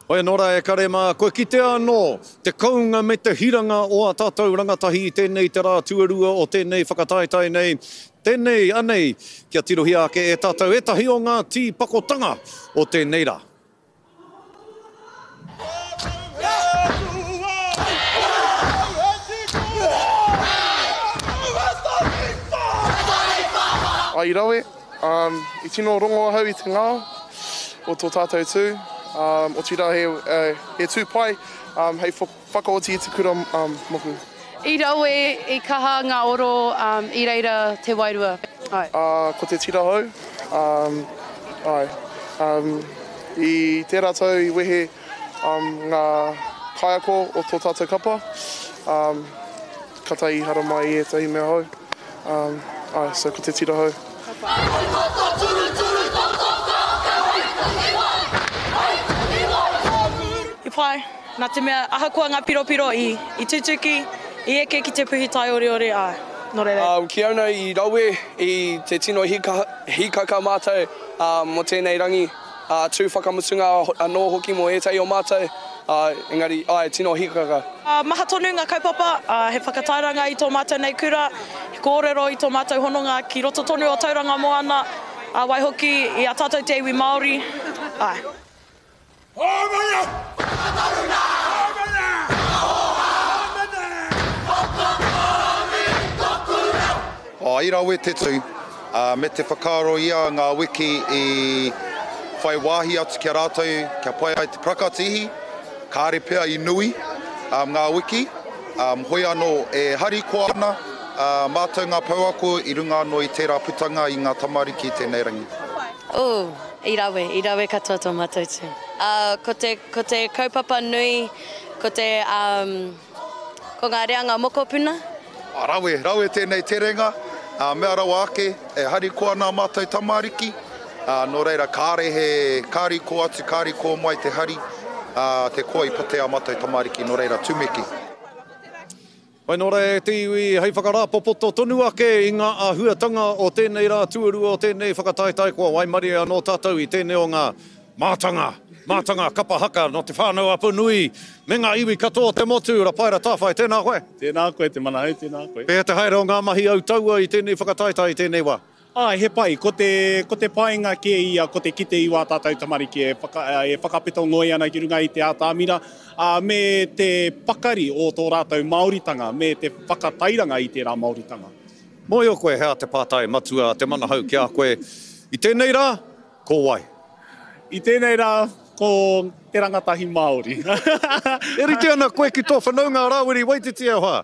Hoi anō rā e kare mā, kua kitea anō te kounga me te hiranga o ā tātou rangatahi i tēnei te rā tuarua o tēnei whakataetae nei. Tēnei, anei, kia tirohia ake e tātou ētahi o ngā tīpakotanga o tēnei rā. I rawe, I tino rongo ahau i te ngao o tō tātou tū, otirā he tū pai hei whakaoti i te kura moku. I rawe, i kaha ngā oro, i reira te wairua. Āe. Ko te tira hou, āe. I tērā tau i wehe ngā kaiako o tō tātou kapa, katahi i haramai i ētahi mea hou. Āe, so ko te tira hou. I pai, nā te mea ahakoa ngā piropiro i tutuki, i eke ki te puhi taioreore, āe, nō reira. Ki au nei i rawe i te tino hīkaka mātou mō tēnei rangi, tū whakamutunga anō hoki mō ētahi o mātou, engari āe, tino hīkaka. Maha tonu ngā kaupapa, he whakatairanga i tō mātou nei kura, he kōrero i tō mātou hononga ki roto tonu o Tauranga Moana, ā, waihoki i a tātou te iwi Māori, āe. I rawe te tū, me te whakaaro ia ngā wiki i whai wāhi atu ki a rātou kia pai ai te prakatihi, kāre pea i nui ngā wiki, hoi anō e harikoa ana mātou ngā pouako i runga anō i tērā putanga i ngā tamariki i tēnei rangi. Ooh, i rawe, i rawe katoa tō mātou tū. Ko te, ko te kaupapa nui, ko te, um, ko ngā reanga mokopuna. Rawe, rawe tēnei terenga, ā, mea rawa ake, e harikoa ana ā mātou tamariki, ā, nō reira kāre he, kāre i kō atu, kāre i kō mai te hari, ā, te koa i pate ā mātou tamariki, nō reira, tumeke. Whai nō reira e te iwi, hei whakarāpopoto tonu ake i ngā āhuatanga o tēnei rā tuarua o tēnei whakataetae kua waimarie anō tātou i tēnei o ngā mātanga, mātanga kapa haka nō Te Whānau-a-Apanui me ngā iwi katoa o te motu. Rapaera Tāwhai, tēnā koe. Tēnā koe Te Manahau, tēnā koe. Pēhea te haere o ngā mahi autaua i tēnei whakataetae i tēnei wā? Āe, he pai. Ko te, ko te painga kē ia, ko te kite i wā tātou tamariki e whaka, e whakapeto ngoi ana ki runga i te atamira, ā, me te pakari o tō rātou Māoritanga, me te whakatairanga i tērā Māoritanga. Mōhio koe he aha te pātai matua a Te Manahau ki a koe i tēnei rā, ko wai? I tēnei rā, ko te rangatahi Māori. E rite ana koe ki tō whanaunga a Rāwiri Waititi e hoa.